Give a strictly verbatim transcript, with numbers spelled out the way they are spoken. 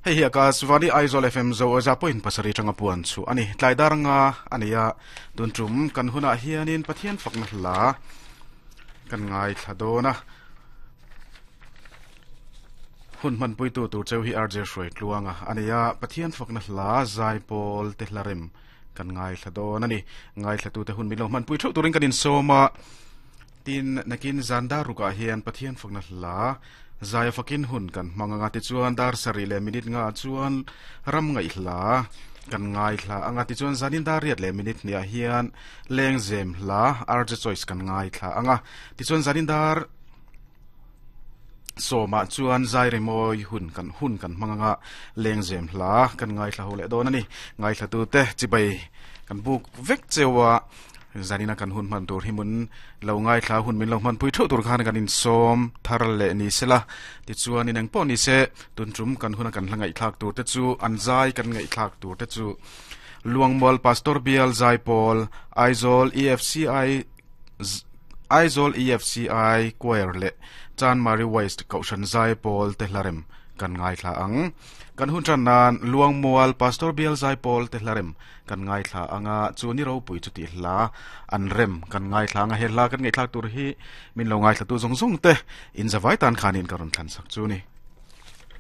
Hei hi Akashvani Aizawl F M zo za point pasarih tanga puan chu ani. Tlai dar nga ania tun tum kan huna hianin Pathian fakna hla kan ngai thla dona. Hun man pui tu tur cheu hi R J Hruai Tluanga ania Pathian fakna hla zai pawl te hlarem kan ngai thla don ani. Ngai thla tu te hun milo man pui thu turin kan in soma tin nakin zanda ruka hian Pathian fakna hla zai fakin hun kan manganga ti chuan dar sari le minute nga chuan ram ngai hla kan ngai hla anga ti chuan zanin dar riat le minute nia hian leng zem hla R J Choice kan ngai thla anga ti chuan zanin dar soma chuan zai re moi hun kan hun kan manganga leng zem hla kan ngai thla hole don ani. Ngai thla tu te chibai kan buk vek chewa zanina kan hun man tur himun lo ngai thla hun min lo man pui thu tur khan kan in som thar le ni sela ti chuan in ang pawh ni se tun tum kan huna kan hlangai thlak tur te chu an zai kan ngai thlak tur te chu Luangmual Pastor Bial Zai Pawl Aizawl E F C I Aizawl E F C I Choir le Chan Mari West Kaushan Zai Pawl te hlarem kan ngai thla ang. Kan hun tran nan Luangmual Pastor Bial Zai Pawl te hlarem kan ngai thla anga chu ni ro pui chu ti hla an rem kan ngai thla anga he hla kan ngai thlak tur hi min lo ngai thla tu zong zong te in zawai tan khanin karon thlan sak chu ni.